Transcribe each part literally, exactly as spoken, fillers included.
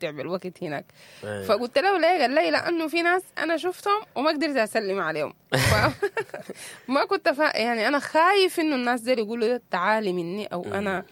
بالوقت هناك. أيوة. فقلت له ليه؟ قال لي لانه في ناس انا شفتهم وما قدرت اسلم عليهم. ف... ما كنت فا... يعني انا خايف انه الناس دي يقولوا تعالي مني او انا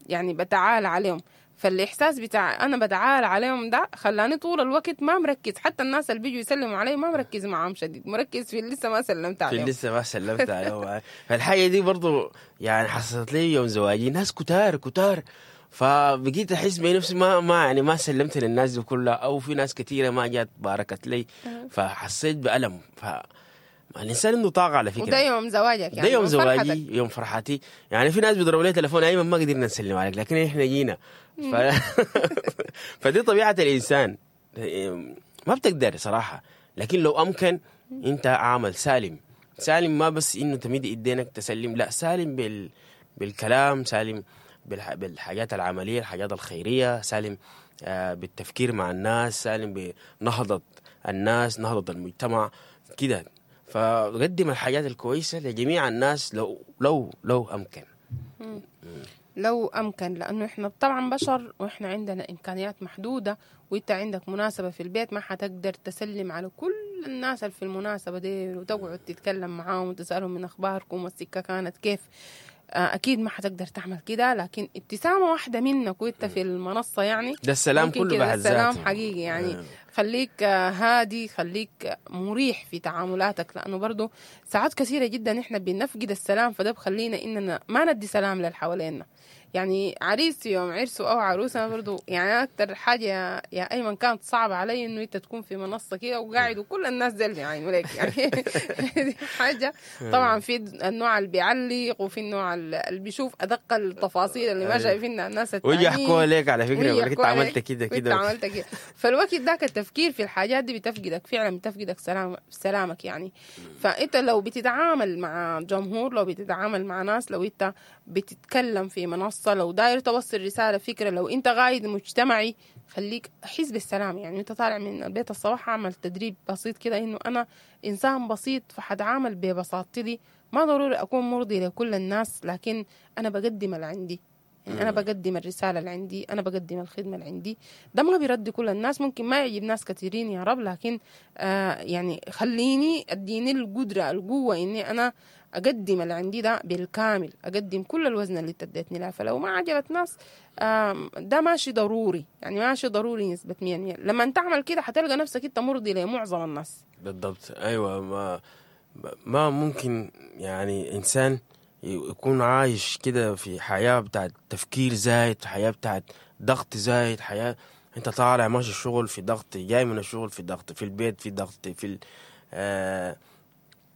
يعني بتعالى عليهم. فالاحساس بتاع انا بتعالى عليهم ده خلاني طول الوقت ما مركز، حتى الناس اللي بيجوا يسلموا علي ما مركز معاهم شديد، مركز في اللي لسه ما سلمت عليهم. في اللي لسه ما سلمت عليهم. فالحاجه دي برضو يعني حصلت لي يوم زواجي، ناس كتار كتار، فبقيت احس بنفسي ما ما يعني ما سلمت للناس دي كلها، او في ناس كثيرة ما جات باركت لي، فحسيت بالم. ف الانسان عنده طاقة على فكرة. وده يوم زواجك يعني. ده يوم زواجي، يوم فرحتي. يعني في ناس بيضربوا لي تليفون ايمن ما قدرنا نسلم عليك لكن احنا جينا. ف... فدي طبيعة الانسان، ما بتقدر صراحة، لكن لو امكن انت عامل سالم سالم، ما بس انه تمد ايدينك تسلم، لا، سالم بال... بالكلام، سالم بالح... بالحاجات العملية، الحاجات الخيرية، سالم آه بالتفكير مع الناس، سالم بنهضه الناس، نهضة المجتمع كده. فقدم الحاجات الكويسة لجميع الناس لو لو لو أمكن. مم. لو أمكن، لأنه إحنا طبعا بشر وإحنا عندنا إمكانيات محدودة، وإنت عندك مناسبة في البيت ما حتقدر تسلم على كل الناس اللي في المناسبة دي وتقعد تتكلم معاهم وتسألهم من أخباركم والسكة كانت كيف. أكيد ما حتقدر تعمل كده، لكن ابتسامة واحدة منك وإنت في المنصة يعني ده السلام كله بعد ذاته، السلام حقيقي يعني. آه. خليك هادي، خليك مريح في تعاملاتك، لأنه برضو ساعات كثيرة جدا إحنا بنفقد السلام، فده بخلينا إننا ما ندي سلام للحوالينا. يعني عريس يوم عرسه أو عروسة برضو يعني أكتر حاجة يا, يا أيمن كانت صعبة علي إنه أنت تكون في منصة كده وقاعد وكل الناس زي يعني ولك يعني دي حاجة. طبعا في النوع اللي بيعلق وفي النوع اللي بيشوف أدق التفاصيل اللي ما شايفينها الناس التانيين، ويجي يحكوا لك على فكرة، يقول لك أنت عملت كده كده عملت كده. فالوقت ذاك التفكير في الحاجات دي بتفقدك فعلا، بتفقدك سلام سلامك يعني. فأنت لو بتتعامل مع جمهور، لو بتتعامل مع ناس، لو أنت بتتكلم في منصة، لو داير توصل رسالة فكرة، لو انت قائد مجتمعي، خليك حس بالسلام. يعني انت طالع من البيت الصباح اعمل تدريب بسيط كده انه انا انسان بسيط فحتعامل ببساطتي دي، ما ضروري اكون مرضي لكل الناس، لكن انا بقدم اللي عندي، يعني انا بقدم الرسالة اللي عندي، انا بقدم الخدمة اللي عندي. ده ما بيرد كل الناس، ممكن ما يعجب ناس كثيرين يا رب، لكن آه يعني خليني اديني القدرة القوة اني انا أقدم اللي عندي ده بالكامل، أقدم كل الوزن اللي تديتني له. فلو ما عجبت ناس ده ماشي ضروري، يعني ماشي ضروري نسبة مية مية. لما تعمل كده حتلقى نفسك أنت مرضي لمعظم الناس. بالضبط، أيوة. ما ما ممكن يعني إنسان يكون عايش كده في حياة بتاعت تفكير زايد، حياة بتاعت ضغط زايد، حياة أنت طالع ماشي الشغل في ضغط، جاي من الشغل في ضغط، في البيت في ضغط، في ال آه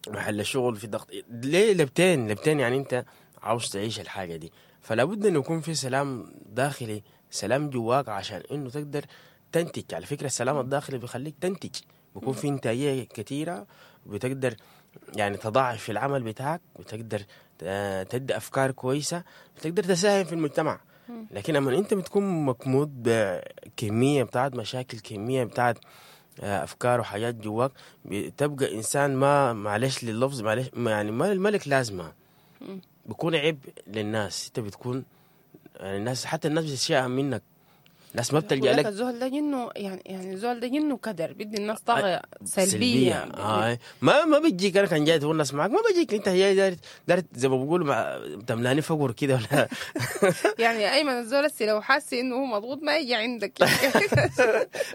محل الشغل في ضغط. ليه لبتين لبتين يعني انت عاوز تعيش الحاجة دي، فلا بد انه يكون في سلام داخلي، سلام جواك، عشان انه تقدر تنتج. على فكرة السلام الداخلي بيخليك تنتج، بيكون في انتاجية كثيرة، بتقدر يعني تضاعف في العمل بتاعك، بتقدر تدي افكار كويسة، بتقدر تساهم في المجتمع. لكن لما انت بتكون مكمود بكمية بتاعت مشاكل، كمية بتاعت افكار وحاجات جواك، بتبقى انسان ما معلش لللفظ، معلش يعني ما الملك لازمه، بيكون عيب للناس. انت بتكون يعني الناس، حتى الناس بتتشائم منك، الناس ما بتلجأ لك. الزول ده جنة يعني، يعني الزول ده جنة كدر، بدي الناس طاقة سلبية, سلبية. آه. ما ما بتجيك. انا كان جاي تقول الناس معك ما بجيك، انت جاي دارت دارت زي ما بيقولوا تملاني فقر كده ولا يعني ايمن الزول هسه لو حاسس انه هو مضغوط ما يجي عندك.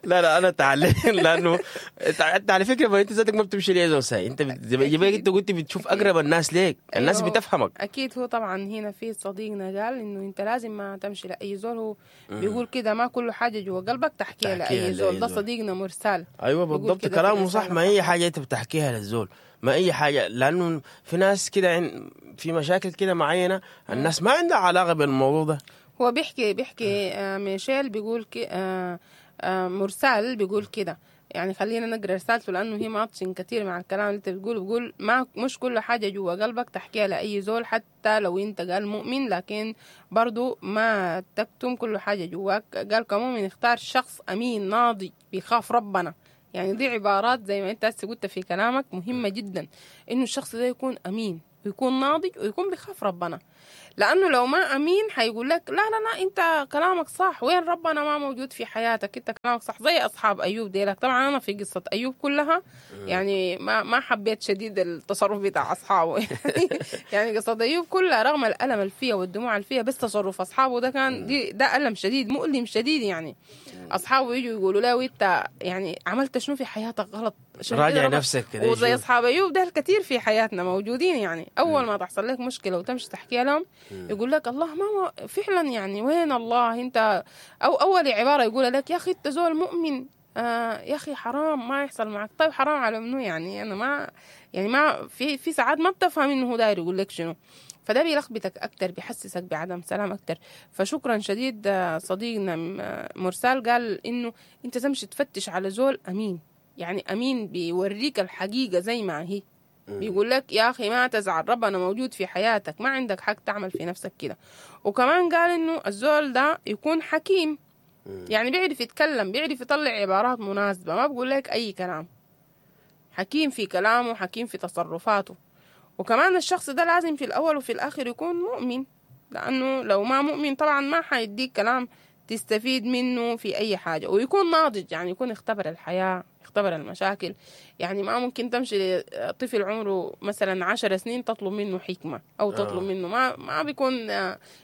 لا لا انا تعلم، لانه انت على فكرة ما انت ذاتك ما بتمشي ليه زول ساي، انت زي ما انت قلت بتشوف اقرب الناس ليك، الناس بتفهمك. اكيد. هو طبعا هنا في صديقنا قال انه انت لازم ما تمشي لاي زول، هو بيقول كده ما كل حاجة جوا قلبك تحكيها لأي زول. ده صديقنا مرسال. أيوة بالضبط، كلامه صح. ما أي حاجة أنت بتحكيها للزول، ما أي حاجة، لأنه في ناس كده في مشاكل كده معينة الناس ما عندها علاقة بالموضوع ده. هو بيحكي بيحكي آه ميشيل بيقول كي آه آه مرسال بيقول كده، يعني خلينا نقرا رسالته لانه هي ماتشن كثير مع الكلام اللي انت بتقوله. بيقول ما مش كل حاجة جوا قلبك تحكيها لاي زول، حتى لو انت قال مؤمن، لكن برضو ما تكتم كل حاجة جواك. قال كمؤمن اختار شخص امين ناضج بيخاف ربنا. يعني دي عبارات زي ما انت هسه قلت في كلامك مهمة جدا، انه الشخص ده يكون امين. ويكون ناضج ويكون بيخاف ربنا. لانه لو ما امين حيقول لك لا لا لا انت كلامك صح، وين ربنا ما موجود في حياتك، انت كلامك صح. زي اصحاب ايوب ديلك. طبعا انا في قصة ايوب كلها يعني ما ما حبيت شديد التصرف بتاع اصحابه. يعني قصة ايوب كلها رغم الالم اللي فيها والدموع اللي فيها، بس تصرف اصحابه ده كان دي ده الم شديد مؤلم شديد. يعني اصحابه يجوا يقولوا له انت يعني عملت شنو في حياتك غلط، راجع نفسك كده. وزي اصحاب ايوب ده الكثير في حياتنا موجودين. يعني اول ما تحصل لك مشكلة وتمشي تحكيها لهم يقول لك الله ما فعلا يعني وين الله انت، او اول عبارة يقول لك يا اخي انت زول مؤمن، آه يا اخي حرام ما يحصل معك. طيب حرام على منو يعني؟ انا ما يعني ما في في ساعات ما بتفهم انه هو داير يقول لك شنو، فده بيلخبطك اكتر، بيحسسك بعدم سلام اكتر. فشكرا شديد صديقنا مرسال قال انه انت تمشي تفتش على زول امين، يعني امين بيوريك الحقيقة زي ما هي، بيقول لك يا أخي ما تزعل، ربنا موجود في حياتك، ما عندك حق تعمل في نفسك كده. وكمان قال إنه الزول ده يكون حكيم، يعني بيعرف يتكلم، بيعرف يطلع عبارات مناسبة، ما بقول لك أي كلام، حكيم في كلامه، حكيم في تصرفاته. وكمان الشخص ده لازم في الأول وفي الآخر يكون مؤمن، لأنه لو ما مؤمن طبعا ما حيديك كلام تستفيد منه في أي حاجة. ويكون ناضج، يعني يكون اختبر الحياة، اختبر المشاكل. يعني ما ممكن تمشي لطفل عمره مثلا عشر سنين تطلب منه حكمة أو تطلب آه. منه ما ما بيكون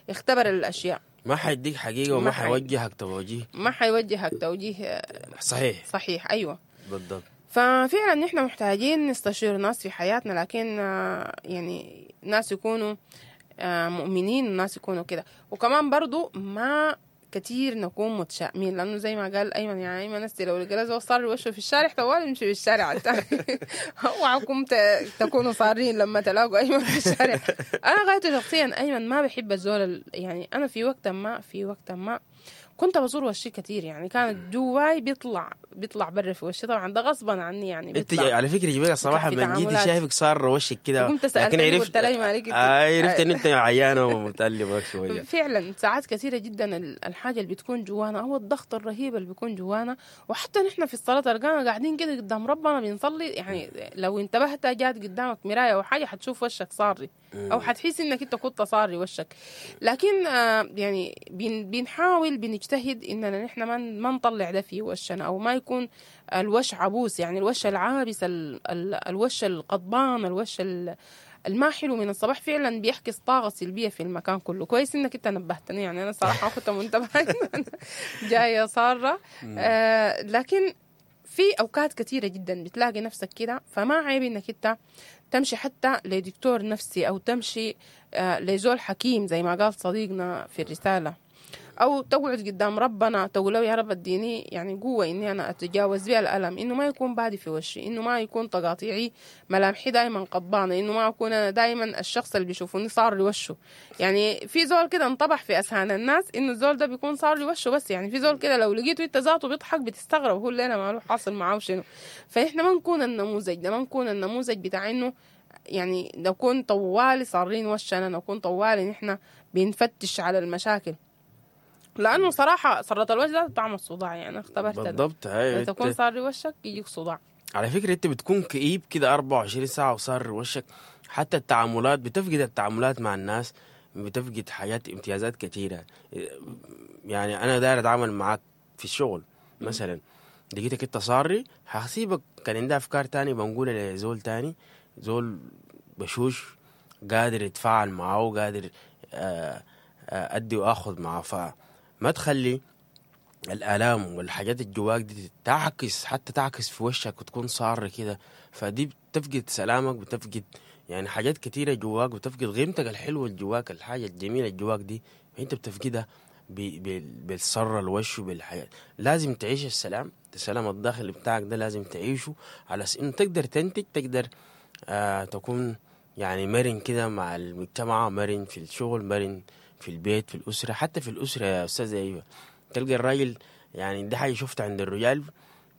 اختبر الأشياء، ما حيديك حقيقة وما حيوجهك توجيه، ما حيوجهك توجيه صحيح صحيح. أيوة بالضبط. ففعلا نحن محتاجين نستشير ناس في حياتنا، لكن يعني ناس يكونوا مؤمنين، ناس يكونوا كده. وكمان برضو ما كتير نكون متشائمين، لأنه زي ما قال أيمن، يعني أيمن نستي لو لقى زول صار وشه في الشارع طوال يمشي في الشارع الثاني. اوعكم تكونوا صارين لما تلاقوا أيمن في الشارع. أنا غايته شخصيا أيمن ما بحب الزول، يعني أنا في وقت ما في وقت ما كنت بزور وشي كتير، يعني كانت جواي بيطلع بيطلع برا في وشي، طبعا ده غصبا عني يعني. انت على فكرة جبالك الصراحة من جيتي شايفك صار وشك كده، لكن عرفت آه عرفت ان انت عيانه ومتألمه شوية. فعلا ساعات كثيرة جدا الحاجة اللي بتكون جوانا او الضغط الرهيب اللي بيكون جوانا، وحتى نحن في الصلاة تلقانا قاعدين كده قدام ربنا بنصلي، يعني لو انتبهت جات قدامك مراية او حاجة حتشوف وشك صاري او حتحس انك انت كنت صاري وشك. لكن آه يعني بنحاول بنجتهد اننا نحن ما ما نطلع ده في وشنا، او ما يكون الوش عبوس، يعني الوش العابس، ال ال الوش القضبان، الوش الما حلو من الصباح فعلا بيحكي طاقة سلبية في المكان كله. كويس انك انت نبهتني، يعني انا صراحة كنت منتبهه جاية صاره. آه لكن في اوقات كثيرة جدا بتلاقي نفسك كده، فما عيب انك انت تمشي حتى لدكتور نفسي او تمشي آه لزول حكيم زي ما قال صديقنا في الرسالة، او تقعد قدام ربنا تقول له يا رب اديني يعني قوة اني انا اتجاوز بها الالم، انه ما يكون بادي في وشي، انه ما يكون تقاطيعي ملامحي دائما قضبانه، انه ما اكون انا دائما الشخص اللي بيشوفوني صار لي وشه. يعني في زول كده انطبح في اذهان الناس انه الزول ده بيكون صار لي وشه بس، يعني في زول كده لو لقيته انت ذاته بيضحك بتستغرب هو اللي انا ماله حاصل معاه شنو. فاحنا ما نكون النموذج ده، ما نكون النموذج بتاع انه يعني نكون طوالي صارين وشنا، نكون طوالي نحن بنفتش على المشاكل، لانه صراحة صرة الوجه ده طعم الصداع، يعني اختبرت بالضبط. هاي تكون صار وشك يجيك صداع. على فكرة انت بتكون كئيب كده أربعة وعشرين ساعة وصار وشك، حتى التعاملات بتفقد التعاملات مع الناس، بتفقد حاجات امتيازات كثيرة. يعني انا داير اتعامل معاك في الشغل مثلا، لقيتك انت صاري هسيبك، كان عندي افكار تاني بنقولها لزول تاني، زول بشوش قادر يتفاعل معه وقادر ادي واخذ معه. فما تخلي الآلام والحاجات الجواك دي تعكس، حتى تعكس في وشك وتكون صار كده، فدي بتفقد سلامك، بتفقد يعني حاجات كتيرة جواك، بتفقد قيمتك الحلوة جواك، الحاجة الجميلة جواك دي انت بتفقدها بالصرة الوش وبالحياة. لازم تعيش السلام، السلام الداخلي بتاعك ده لازم تعيشه على أساس انه تقدر تنتج، تقدر آه تكون يعني مرن كده مع المجتمع، مرن في الشغل، مرن في البيت، في الأسرة. حتى في الأسرة يا أستاذة أيوة تلقى الراجل، يعني دي حاجة شفتها عند الرجال،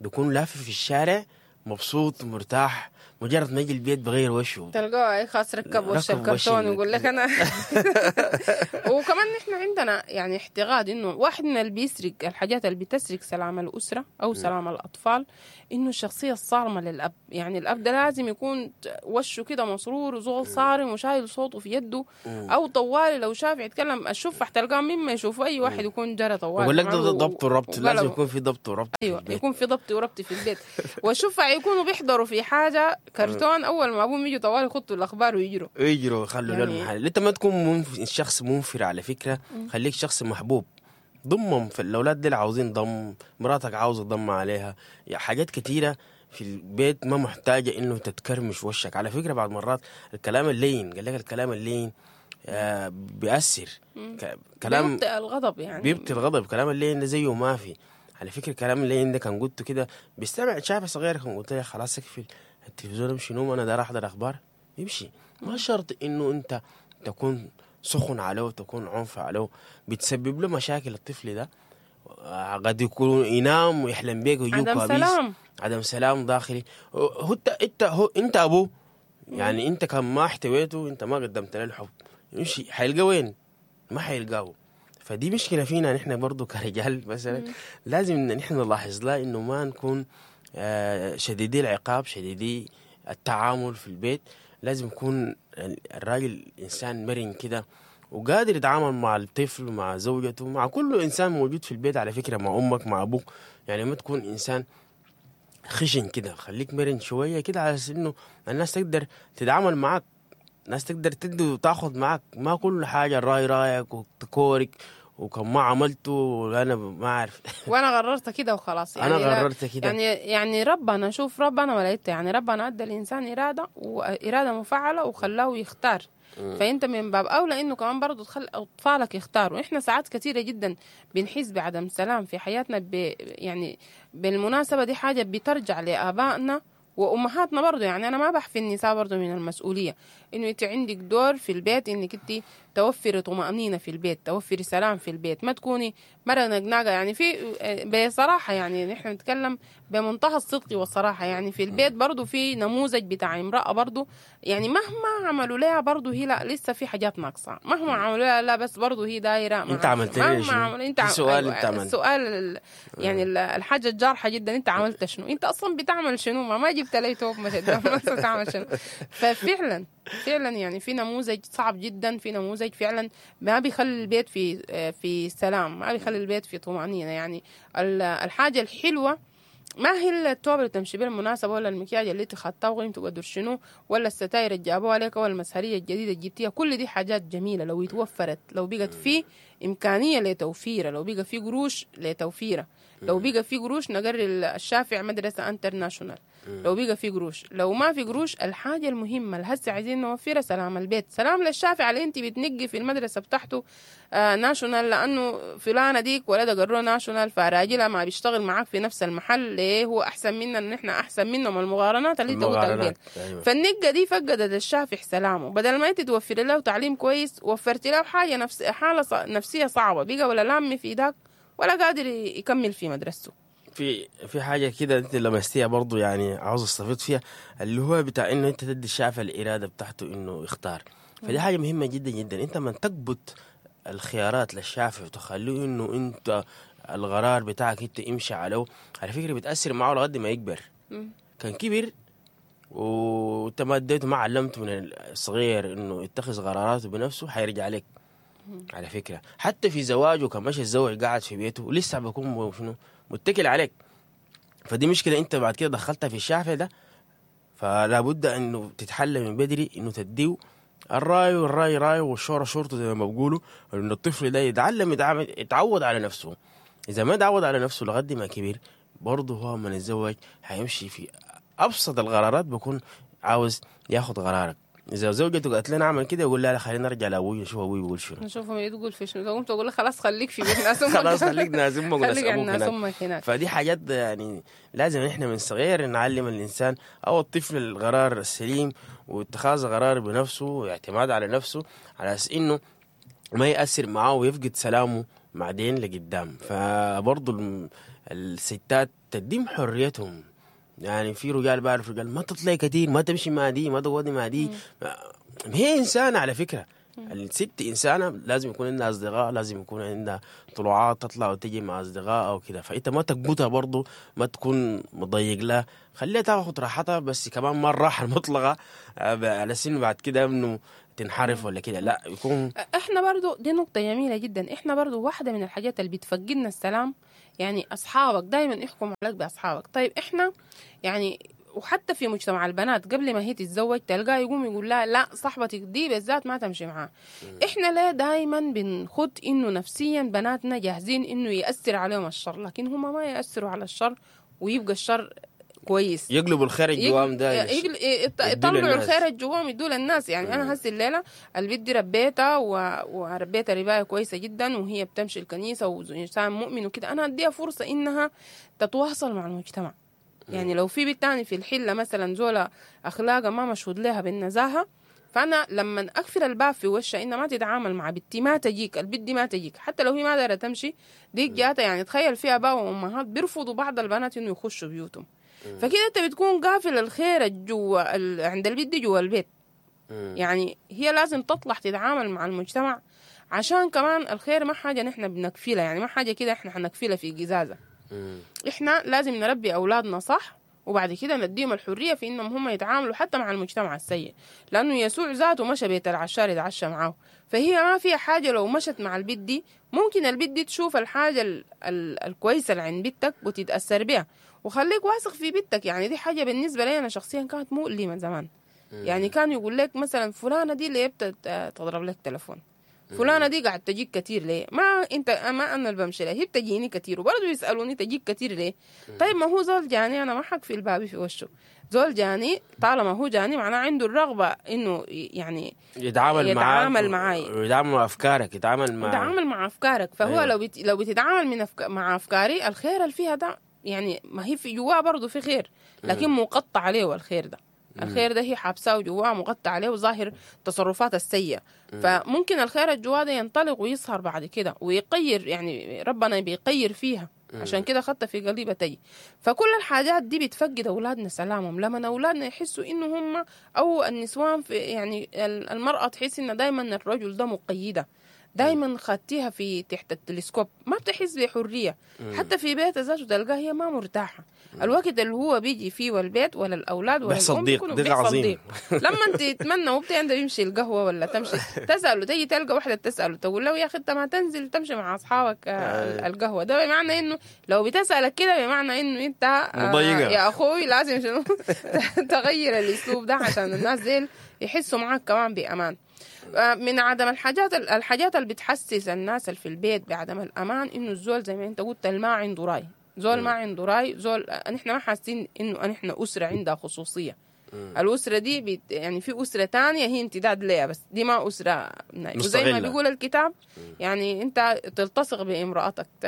بيكون لافف في الشارع مبسوط مرتاح، مجرد ما يجي البيت بغير وشه، تلقاه اي خلاص ركب وش ركب وش الكرتون ال- ويقول لك انا. وكمان نحن عندنا يعني اعتقاد انه واحد من اللي بيسرق الحاجات اللي بتسرق سلام الاسرة او سلام الاطفال انه الشخصية الصارمة للاب. يعني الاب ده لازم يكون وشه كده مسرور وزول صارم وشايل صوته في يده، او طوالي لو شاف يتكلم الشوف تلقاه مما يشوف اي واحد يكون جرى طوالي. بقول لك ده معه ضبط وربط، لازم وقلبه. يكون في ضبط وربط في ايوه البيت. يكون في ضبط وربط في البيت. والشفع يكونوا بيحضروا في حاجة كرتون، اول ما ابوهم يجوا طوالي يخطوا الاخبار ويجروا. يجروا يخلوا يعني- يعني المحل. انت ما تكون منف... شخص منفر على فكرة، خليك شخص محبوب. ضمهم في الاولاد دي عاوزين ضم، مراتك عاوزه ضم عليها، يا حاجات كتيرة في البيت ما محتاجه انه تتكرمش وشك. على فكرة بعض مرات الكلام اللين، قال لك الكلام اللين آه بيأثر. ك... كلام بيبطئ الغضب يعني، بيبطي الغضب. كلام اللين ده زيه ما في. على فكرة كلام اللين ده كان قلته كده بيستمع شاف صغير، كان قلت له خلاص اقفل التلفزيون امشي نوم، انا داير احضر اخبار، يمشي. ما شرط انه انت تكون سخن عليه وتكون عنف عليه، بتسبب له مشاكل الطفل ده. آه، قد يكون ينام ويحلم بيك ويجيه عدم كوابيس. سلام. عدم سلام داخلي. هو انت انت هو انت ابوه يعني، انت كان ما احتويته، انت ما قدمت له الحب، يمشي حيلقى وين؟ ما حيلقاه. فدي مشكلة فينا نحن برضو كرجال مثلا، لازم ان نحن نلاحظ لها انه ما نكون آه، شديدي العقاب، شديدي التعامل في البيت. لازم يكون الراجل انسان مرن كده وقادر يتعامل مع الطفل، مع زوجته، مع كل انسان موجود في البيت. على فكرة مع امك، مع ابوك، يعني ما تكون انسان خشن كده، خليك مرن شوية كده على اساس انه الناس تقدر تتعامل معاك، الناس تقدر تدي وتاخذ معاك. ما كل حاجة الراي رايك وتكورك وكم ما عملته انا ما اعرف. وانا قررت كده وخلاص. يعني انا لا- قررت كده. يعني يعني ربنا، شوف ربنا ولا انت، يعني ربنا ادى الانسان اراده واراده مفعله وخلاه يختار. فانت من باب اولى انه كمان برضه تخلي اطفالك يختاروا. احنا ساعات كثيرة جدا بنحس بعدم سلام في حياتنا ب يعني بالمناسبة دي حاجة بترجع لابائنا وامهاتنا برضه. يعني انا ما بحفي النساء برضه من المسؤولية، انه انت عندك دور في البيت انك انت توفري طمانينة في البيت، توفري سلام في البيت، ما تكوني مرة نقناقه. يعني في بصراحة يعني نحن نتكلم بمنتهى الصدق والصراحة، يعني في البيت برضه في نموذج بتاع امراة برضه، يعني مهما عملوا لها برضه هي لا لسه في حاجات ناقصه، مهما عملوا لها لا بس برضه هي دايرة انت عملت لي مهما شنو؟ عملوا انت في سؤال أيوة، انت عملت. السؤال ال- يعني ال- الحاجة الجارحه جدا، انت عملت شنو؟ انت اصلا بتعمل شنو؟ ما ما جبت لي توب ما تعمل شنو؟ ففعلا فعلا يعني في نموذج صعب جدا، في نموذج فعلا ما بيخلي البيت في في سلام، ما بيخلي البيت في طمأنينة. يعني ال- الحاجة الحلوة ما هي التوب اللي تمشي بيه المناسبة، ولا المكياج اللي انت خدتها وقيمته قدر شنو، ولا الستاير اللي جابوها لك، ولا المسهرية الجديدة اللي جبتيها. كل دي حاجات جميلة لو اتوفرت، لو بقت في إمكانية لتوفيرها، لو بقى في قروش لتوفيرها، لو بقى في قروش نقري الشافع مدرسة international، لو بقى في قروش. لو ما في قروش، الحاجة المهمة اللي هسه عايزين نوفرها سلام البيت، سلام للشافع اللي انت بتنقي في المدرسة بتاعته آه national، لأنه فلانة ديك ولدها قروه national، فراجلها ما بيشتغل معاك في نفس المحل، ليه هو أحسن منا؟ إن إحنا أحسن منهم. المقارنات اللي انت قلتها قبل. المقارنات، أيوة. فالنقة دي فقدت الشافع سلامه. بدل ما انت توفري له تعليم كويس، وفرت له حاجة نفس حالة ص- نفسية صعبة، بقى ولا لامي في داك ولا قادر يكمل في مدرسته. في في حاجة كده انت لمستيها برضو، يعني عاوز استفيد فيها، اللي هو بتاع انه انت تدي الشافع الارادة بتاعته انه يختار. فدي حاجة مهمة جدا جدا. انت من تقبض الخيارات للشافع وتخليه انه انت القرار بتاعك انت امشي عليه، على فكرة بتاثر معه لغاية ما يكبر. كان كبر وانت ما اديته، ما علمته من الصغير انه يتخذ قراراته بنفسه، حيرجع لك. على فكرة حتى في زواجه كان ماشي يتزوج قاعد في بيته لسه بيكون شنو متكل عليك. فدي مشكلة انت بعد كده دخلتها في الشافع ده، فلا بد انه تتحلى من بدري، انه تديه الراي، والراي راي والشوره شورته زي ما بيقولوا، ان الطفل ده يتعلم يتعامل- يتعود على نفسه. اذا ما تعود على نفسه لغد ما كبر، برضه هو من يتزوج حيمشي في ابسط القرارات بيكون عاوز ياخد قرارك. اذا زوجته قالت لنا اعمل كده، يقول لا لا خلينا نرجع لابوي نشوف ابوي بيقول شنو. نشوفهم يقول في شنو. تقوم تقول له خلاص خليك في بيت ناس امك. خلاص خليك ناس امك وناس خليك عند ابوك ناس هناك. امك هناك. فدي حاجات يعني لازم احنا من صغير نعلم الانسان او الطفل القرار السليم واتخاذ قرار بنفسه واعتماد على نفسه، على اساس انه ما ياثر معاه ويفقد سلامه بعدين لقدام. فبرضه الم- الستات تديم حريتهم. يعني في رجال بعرف رجال ما تطلعي كثير، ما تمشي مع دي، ما تقعدي مع دي. هي انسانه على فكرة، الست انسانه لازم يكون عندها اصدقاء، لازم يكون عندها طلوعات تطلع وتجي مع اصدقاء او كده. فانت ما تقبطها برضو، ما تكون مضيق لها، خليها تاخذ راحتها، بس كمان ما الراحة المطلقة على سن بعد كده انه تنحرف ولا كده، لا يكون. احنا برضو دي نقطة جميلة جدا. احنا برضو واحدة من الحاجات اللي بتفقدنا السلام، يعني اصحابك دايما يحكموا عليك باصحابك. طيب احنا يعني وحتى في مجتمع البنات قبل ما هي تتزوج تلقاه يقوم يقول لها لا صاحبتك دي بالذات ما تمشي معاها. احنا لا دايما بنخد انه نفسيا بناتنا جاهزين انه يأثر عليهم الشر، لكن هم ما يأثروا على الشر ويبقى الشر كويس، يقلبوا الخير الجوام ده، يطلعوا الخير الجوام يدوا للناس. يعني انا هسي الليلة البنت دي ربيتها و... وربيتها ربايه كويسة جدا، وهي بتمشي الكنيسة وانسان مؤمن وكده، انا اديها فرصة انها تتواصل مع المجتمع. يعني لو في بنت تاني في الحلة مثلا زولا اخلاقها ما مشهود لها بالنزاهه، فانا لما اقفل الباب في وشها انها ما تتعامل مع بنتي، ما تجيك البنت دي، ما تجيك حتى لو هي ما دايرة تمشي ديك جاتها. يعني تخيل في اباء وامهات بيرفضوا بعض البنات انه يخشوا بيوتهم، فكده انت بتكون قافل الخير جوا عند البنت دي جوا البيت. يعني هي لازم تطلع تتعامل مع المجتمع، عشان كمان الخير ما حاجة نحن بنكفلها، يعني ما حاجة كده احنا حنكفلها في قزازه. احنا لازم نربي اولادنا صح، وبعد كده نديهم الحرية في انهم هم يتعاملوا حتى مع المجتمع السيء، لانه يسوع ذاته مشى بيت العشار يتعشى معاه. فهي ما فيها حاجة لو مشت مع البيت دي، ممكن البيت دي تشوف الحاجة ال ال الكويسة اللي عند بيتك وتتاثر بها، وخليك واثق في بيتك. يعني دي حاجة بالنسبة لي انا شخصيا كانت مؤلمة زمان. يعني كان يقول لك مثلا فلانه دي ليه بتضرب لك تلفون، فلانه دي قاعد تجيك كتير ليه؟ ما انت ما انا اللي بمشي لها، هي بتجيني كتير، وبرضه يسالوني تجيك كتير ليه؟ طيب ما هو زول جاني، انا ما حق في الباب في وشه، زول جاني طالما هو جاني معناه عنده الرغبة انه يعني يتعامل يتعامل معاي، يتعامل مع افكارك، يتعامل مع يتعامل مع افكارك. فهو أيوة. لو بت... لو بتتعامل من أفك... مع افكاري، الخير اللي فيها ده يعني ما هي في جواه برضه في خير، لكن مقطع عليه الخير ده. الخير ده هي حابساه جواه، مغطى عليه وظاهر تصرفات السيئة. فممكن الخير الجواه ده ينطلق ويظهر بعد كده ويقير، يعني ربنا بيقير فيها، عشان كده خدت في قليبة تجي. فكل الحاجات دي بتفقد أولادنا سلامهم. لما أولادنا يحسوا إنه هم أو النسوان في يعني المرأة تحس إن دايما الرجل ده مقيدة، دايما خدتيها في تحت التلسكوب، ما بتحس بحرية. حتى في بيتها ذاته تلقاها هي ما مرتاحة. الوقت اللي هو بيجي فيه والبيت ولا الأولاد ولا الأم بيحصل ضيق عظيم. لما أنت تتمنى وبتي عنده يمشي القهوة ولا تمشي تسأله، تيجي تلقى واحدة تسأله تقول له يا أخي أنت ما تنزل تمشي مع أصحابك القهوة، ده بمعنى إنه لو بتسألك كده بمعنى إنه أنت مضيقة يا أخوي، لازم شنو تغير الأسلوب ده عشان الناس ديل يحسوا معاك كمان بأمان. من عدم الحاجات الحاجات اللي بتحسس الناس اللي في البيت بعدم الأمان، إنه الزول زي ما أنت قلت ما عنده رأي، زول ما عنده رأي، زول نحن ما حاسين إنه نحن أسرة عندها خصوصية. الأسرة دي بت يعني في أسرة تانية هي امتداد ليها، بس دي ما أسرة وزي ما بيقول الكتاب يعني أنت تلتصق بامرأتك ت...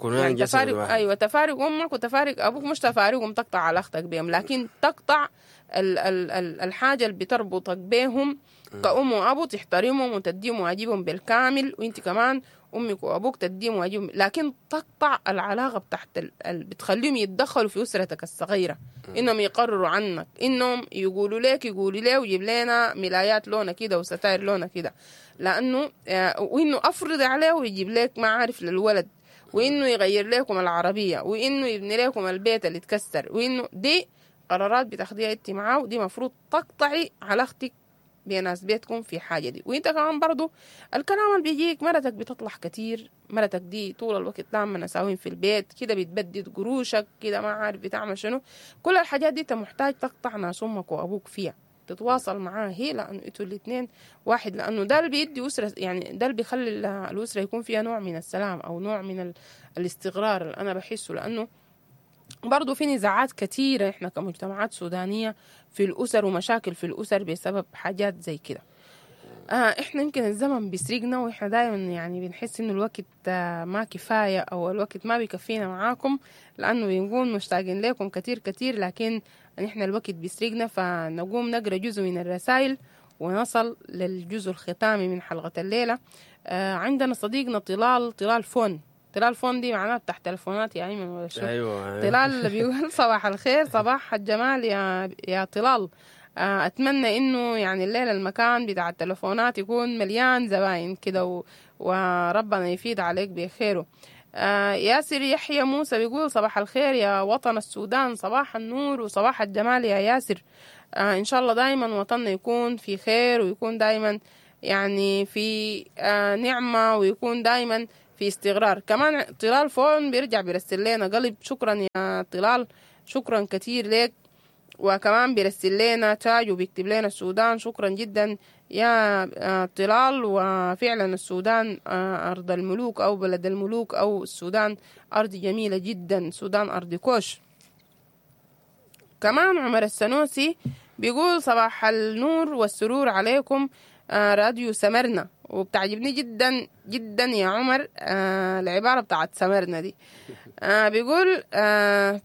يعني تفارق، أيوة تفارق أمك وتفارق أبوك، مش تفارقهم تقطع علاقتك بهم، لكن تقطع ال ال ال الحاجة اللي بتربطك بهم كأم وأبو، تحترمهم وتديهم واجبهم بالكامل، وانت كمان أمك وأبوك تديهم واجبهم، لكن تقطع العلاقة بتاعت ال... بتخليهم يتدخلوا في أسرتك الصغيرة، إنهم يقرروا عنك، إنهم يقولوا لك يقولوا ليه ويجيب لنا ملايات لونها كده وستاير لونها كده، لأنه وإنه أفرض عليه ويجيب لك ما عارف للولد، وإنه يغير لكم العربية، وإنه يبني لكم البيت اللي اتكسر، وإنه دي قرارات بتاخديها انت معاه، ودي مفروض تقطعي علاقتك بناس بيتكم في حاجة دي. وانت كمان برضو الكلام اللي بيجيك مرتك بتطلع كتير، مرتك دي طول الوقت لما نساوين في البيت كده بتبدد قروشك كده ما عارف بتعمل شنو، كل الحاجات دي انت محتاج تقطع ناس امك وابوك فيها، تتواصل معاه هي، لانه انتوا الاثنين واحد، لانه ده اللي بيدي اسره، يعني ده اللي بيخلي الاسرة يكون فيها نوع من السلام او نوع من الاستقرار اللي انا بحسه. لانه برضو في نزاعات كثيرة إحنا كمجتمعات سودانية في الأسر، ومشاكل في الأسر بسبب حاجات زي كده. آه إحنا يمكن الزمن بيسرقنا، وإحنا دايما يعني بنحس إنه الوقت آه ما كفاية أو الوقت ما بيكفينا معاكم، لأنه بنكون مشتاقين لكم كتير كتير، لكن إحنا الوقت بيسرقنا. فنقوم نقرأ جزء من الرسائل ونصل للجزء الختامي من حلقة الليلة. آه عندنا صديقنا طلال طلال فون طلال فون دي معناها بتاع تلفونات يا ايمن ولا شنو؟ ايوه طلال بيقول صباح الخير، صباح الجمال يا يا طلال. آه، اتمنى انه يعني الليلة المكان بتاع التلفونات يكون مليان زباين كده، و- وربنا يفيد عليك بخيره. آه، ياسر يحيى موسى بيقول صباح الخير يا وطن السودان، صباح النور وصباح الجمال يا ياسر. آه، ان شاء الله دايما وطننا يكون في خير، ويكون دايما يعني في آه، نعمة، ويكون دايما في استقرار. كمان طلال فون بيرجع بيرسل لنا قلب، شكرا يا طلال، شكرا كثير لك. وكمان بيرسل لنا تاج وبيكتب لنا السودان، شكرا جدا يا آه، طلال. وفعلا السودان آه، أرض الملوك أو بلد الملوك، أو السودان أرض جميلة جدا، السودان أرض كوش. كمان عمر السنوسي بيقول صباح النور والسرور عليكم آه، راديو سمرنا. وبتعجبني جدا جدا يا عمر آه، العبارة بتاعت سمرنا دي. آه، بيقول آه،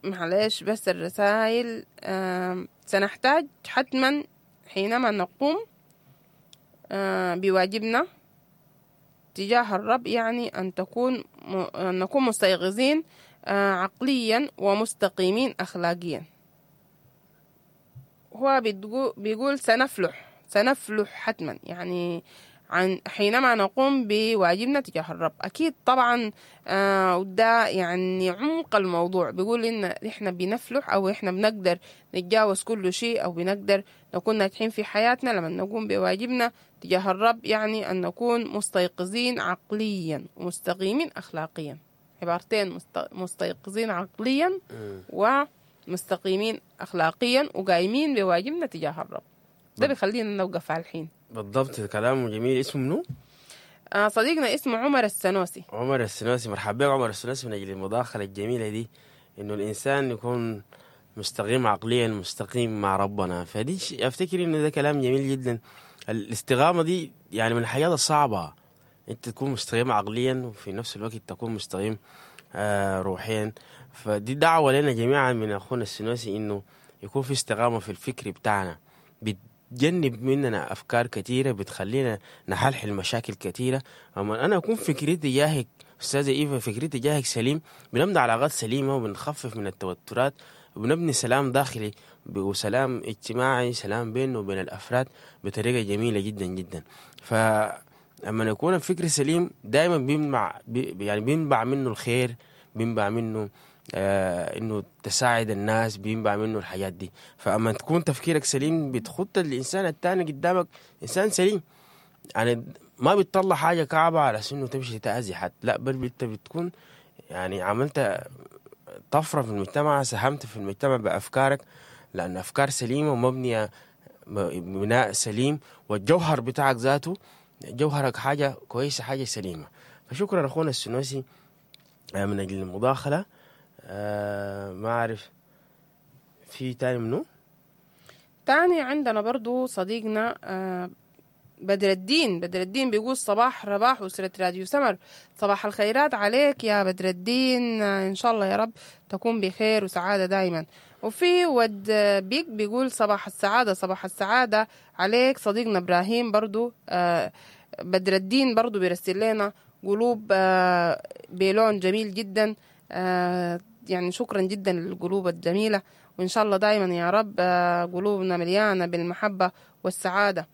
معلش بس الرسائل، آه، سنحتاج حتما حينما نقوم آه، بواجبنا تجاه الرب، يعني أن تكون م- أن نكون مستيقظين آه، عقليا ومستقيمين أخلاقيا. هو بتقو- بيقول سنفلح، سنفلح حتما، يعني عن حينما نقوم بواجبنا تجاه الرب. أكيد طبعا آه وده يعني عمق الموضوع. بيقول إن إحنا بنفلح أو إحنا بنقدر نتجاوز كل شيء، أو بنقدر نكون ناجحين في حياتنا لما نقوم بواجبنا تجاه الرب، يعني أن نكون مستيقظين عقليا ومستقيمين أخلاقيا. عبارتين، مست- مستيقظين عقليا ومستقيمين أخلاقيا وقايمين بواجبنا تجاه الرب. ده بيخلينا نوقف على الحين. بالضبط، كلامه جميل. اسمه منو؟ آه صديقنا اسمه عمر السنوسي. عمر السنوسي، مرحبا بك عمر السنوسي من اجل المداخلة الجميلة دي، انه الانسان يكون مستقيم عقليا، مستقيم مع ربنا. فدي ش- افتكر انه ده كلام جميل جدا. الاستقامة دي يعني من الحاجات الصعبة، انت تكون مستقيم عقليا وفي نفس الوقت تكون مستقيم آه روحيا. فدي دعوه لنا جميعا من اخونا السنوسي، انه يكون في استقامة في الفكر بتاعنا، بتجنب مننا افكار كثيرة بتخلينا نحلحل مشاكل كثيرة. اما انا اكون فكري تجاهك استاذه ايفا، فكري تجاهك سليم، بنبني علاقات سليمة وبنخفف من التوترات، وبنبني سلام داخلي وسلام اجتماعي، سلام بيننا وبين الافراد بطريقة جميلة جدا جدا. فلما يكون الفكر سليم دائما بينبع بي يعني بينبع منه الخير، بينبع منه آه انه تساعد الناس، بينبع منه الحاجات دي. فاما تكون تفكيرك سليم بتخط الانسان الثاني قدامك انسان سليم، يعني ما بتطلع حاجة كعبه على انه تمشي تاذي حد، لا بل انت بتكون يعني عملت طفرة في المجتمع، ساهمت في المجتمع بافكارك، لان افكار سليمة ومبنيه م- بناء سليم، والجوهر بتاعك ذاته جوهرك حاجة كويسة، حاجة سليمة. فشكرا اخونا السنوسي آه، من اجل المداخلة. آه، ما اعرف في تاني منو؟ تاني عندنا برضو صديقنا آه، بدر الدين. بدر الدين بيقول صباح رباح أسرة راديو سمر، صباح الخيرات عليك يا بدر الدين، آه، إن شاء الله يا رب تكون بخير وسعادة دايما. وفي ود بيك بيقول صباح السعادة، صباح السعادة عليك صديقنا إبراهيم. برضو آه، بدر الدين برضو بيرسل لنا قلوب آه، بلون جميل جدا، آه، يعني شكرا جدا للقلوب الجميلة، وإن شاء الله دايما يا رب آه، قلوبنا مليانة بالمحبة والسعادة.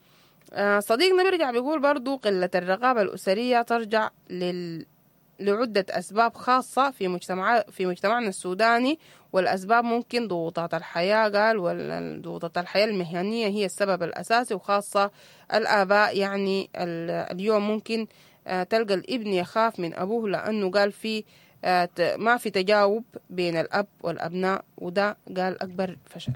آه، صديقنا بيرجع بيقول برضو قلة الرقابة الأسرية ترجع لل... لعدة أسباب خاصة في مجتمع في مجتمعنا السوداني، والأسباب ممكن ضغوطات الحياة، قال وضغوطات الحياة المهنية هي السبب الأساسي، وخاصة الآباء. يعني ال- اليوم ممكن آه، تلقى الابن يخاف من أبوه لأنه قال في آه، ت- ما في تجاوب بين الأب والأبناء، وده قال أكبر فشل.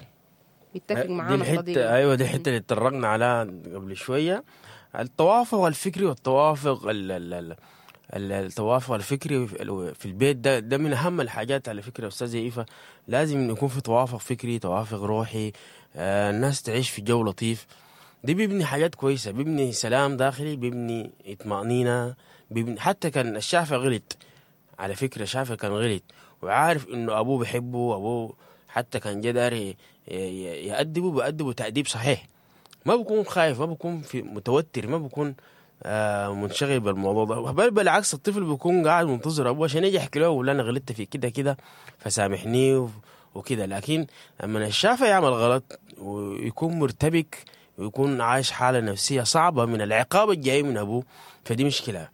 بيتفق دي معانا الحتة، صديقنا. ايوه دي الحتة اللي اتطرقنا عليها قبل شوية، التوافق الفكري والتوافق ال ال ال ال- التوافق الفكري في في البيت ده ده من اهم الحاجات على فكرة يا استاذه ايفا. لازم يكون في توافق فكري، توافق روحي، آه الناس تعيش في جو لطيف. دي بيبني حاجات كويسة، بيبني سلام داخلي، بيبني اطمأنينه، بيبني حتى كان الشافع غلط، على فكرة شافع كان غلط وعارف انه ابوه بيحبه، ابوه حتى كان جدار ي- ي- يأدبه، بأدبه تأديب صحيح، ما بكون خايف، ما بكون في متوتر، ما بكون آه منشغل بالموضوع ده. بل بالعكس الطفل بيكون قاعد منتظر ابوه عشان يجي يحكي له ولا انا غلطت في كده كده فسامحني وكده. لكن لما الشافع يعمل غلط ويكون مرتبك ويكون عايش حالة نفسية صعبة من العقاب الجاي من أبوه، فدي مشكلة.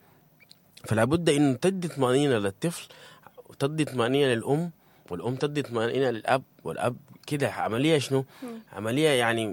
فلا بد إنه تدي طمأنينة للطفل وتدي طمأنينة للأم، والأم تدي طمأنينة للأب، والأب كده. عملية شنو؟ عملية يعني